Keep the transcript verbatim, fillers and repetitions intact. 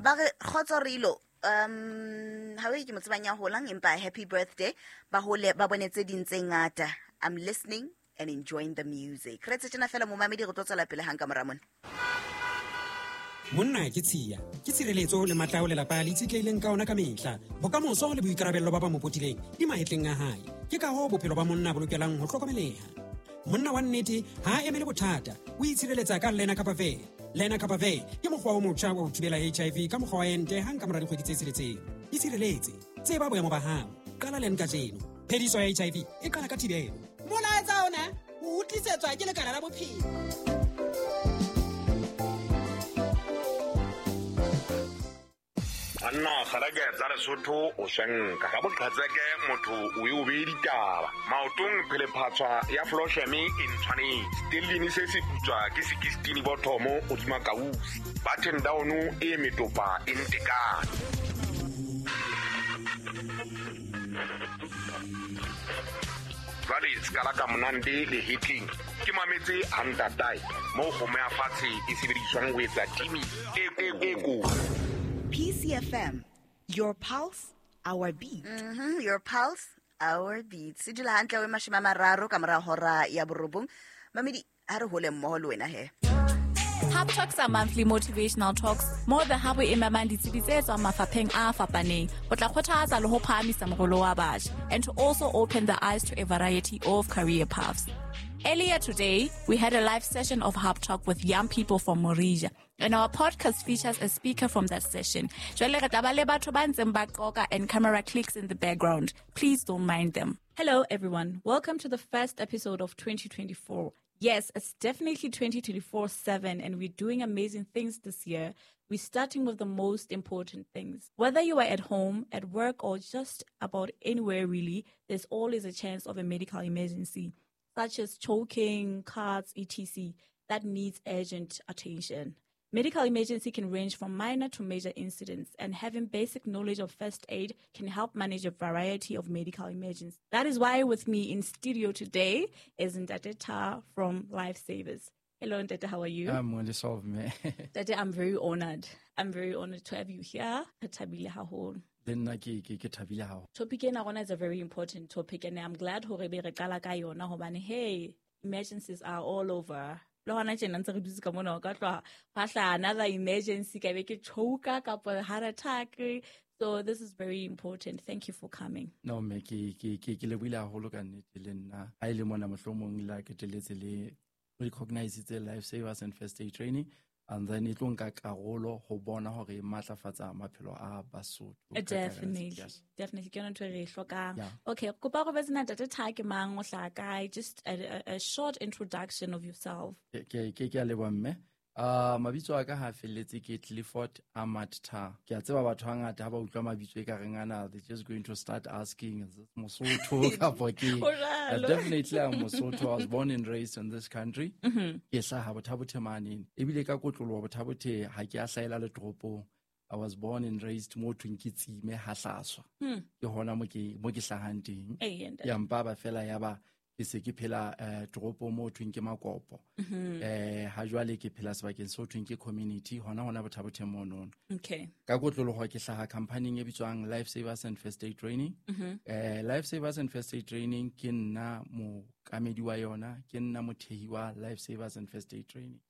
Ba re kgotso rilo um ha we ke mo tsebang ya holang empa happy birthday ba hole ba bone tse ding tse ngata. I'm listening and enjoying the music. Re tse tjena fela momamedi re tlo tswela pele hang ka mora mona. Monna ke tshiya ke tshireletso le matla ao lelapa le itshetlehileng ka ona ka mehla. Bokamoso le boikarabello ba ba mo potileng di mahetleng a hae. Ke ka hoo bophelo ba monna bo lokelang ho hlokomeleha. Monna wa nnete ha a emele bothata, o itshireletsa ka Lenacapavir. Lenacapavir ke mokgwa o motjha wa ho thibela H I V ka mokgwa wa ente hang ka mora dikgwedi tse tsheletseng. Itshireletse, tseba boemo ba hao, qala len kajeno. Phediso ya H I V e qala ka thibelo. Molaetsa ona o utlwisetswa ke Lekala la Bophelo. Banna kgalake tsa Lesotho o swenka ka boqhetseke motho o e o bee ditaba maotong phelephatswa ya flosheme e ntshwanetse stellini se se putswa ke sekistini bothomo hodima kausi button down e metopa e ntekane. Jwale sekala ka monande le hetleng ke mametse hantatae moo kgomo ya fatshe e sebediswang ho etsa timi e e e kotsi. P C F M, your pulse, our beat. Mm-hmm, your pulse, our beat. Se dula hantle we mashome a mararo ka mora hora ya borobong. Mamedi, ha re hole mmoho le wena he. Hub Talks are monthly motivational talks mo the hub e memang ditsebi tse tswang mafapheng a fapaneng ho tla kgothatsa le ho phahamisa morolo wa batjha and to also open the eyes to a variety of career paths. Earlier today, we had a live session of Hub Talk with young people from Morija, and our podcast features a speaker from that session. Jwale re tla ba le batho ba ntseng ba qoqa and camera clicks in the background. Please don't mind them. Hello, everyone. Welcome to the first episode of twenty twenty-four. Yes, it's definitely twenty twenty-four seven, and we're doing amazing things this year. We're starting with the most important things. Whether you are at home, at work, or just about anywhere really, there's always a chance of a medical emergency, such as choking, cuts, et cetera, that needs urgent attention. Medical emergency can range from minor to major incidents, and having basic knowledge of first aid can help manage a variety of medical emergencies. That is why with me in studio today is Ntate Ta from Lifesavers. Hello, Ntate, how are you? I'm well, solve me. Ntate, I'm very honored. I'm very honored to have you here. Re thabile haholo. Le nna ke ke ke thabile haholo. Topic ena rona is a very important topic, and I'm glad hore be re qala ka yona hobane, hey, emergencies are all over. Le hona tjena ntse re dutse ka mona o ka tloha hwa hlaha another emergency, ka be ke choka kapa heart attack. So this is very important. Thank you for coming. No me ke ke ke ke lebohile haholo ka nnete le nna. Ha e le mona mohlomong la keteletse le recognize tse Lifesavers and First Aid Training, and then e tlo nka karolo ho bona hore e matlafatsa maphelo a Basotho ka kakaretso. Definitely. Yes. Definitely. Ke yona ntho e re e hlokang. Yeah. Okay, kopa go betse Ntate Ta ke mang, o hlaha kae? Just a, a, a short introduction of yourself. Ke ke ke ke a leboha mme. Uh, mabitso a ka ha felletse ke Clifford Ahmad Ta. Ke a tseba batho hangata ha ba utlwa mabitso e ka reng ana, they're just going to start asking, is this Mosotho kapa ke? Ho jwalo. Uh, definitely I'm Mosotho. I was born and raised in this country. Mm-hmm. Ke hlaha Botha-Bothe mane. Ebile ka kotloloha Botha-Bothe ha ke a hlahela le toropong. I was born and raised mo thweng ke Tsime ha Hlaswa. Hmm. Ke hona mo ke mo ke hlahang teng. Ee, ntate. Ya mpa ba fela ya ba ke se ke phela eh toropong mo thweng ke Makopo. Mm-hmm. Eh ha jwale ke phela sebakeng se ho thweng ke community hona hona Botha-Bothe monono. Okay. Ka kotloloho ke hlaha company e bitswang Lifesavers and First Aid Training. Mm-hmm. Eh Lifesavers and First Aid Training ke nna mookamedi wa yona, ke nna mothehi wa Lifesavers and First Aid Training.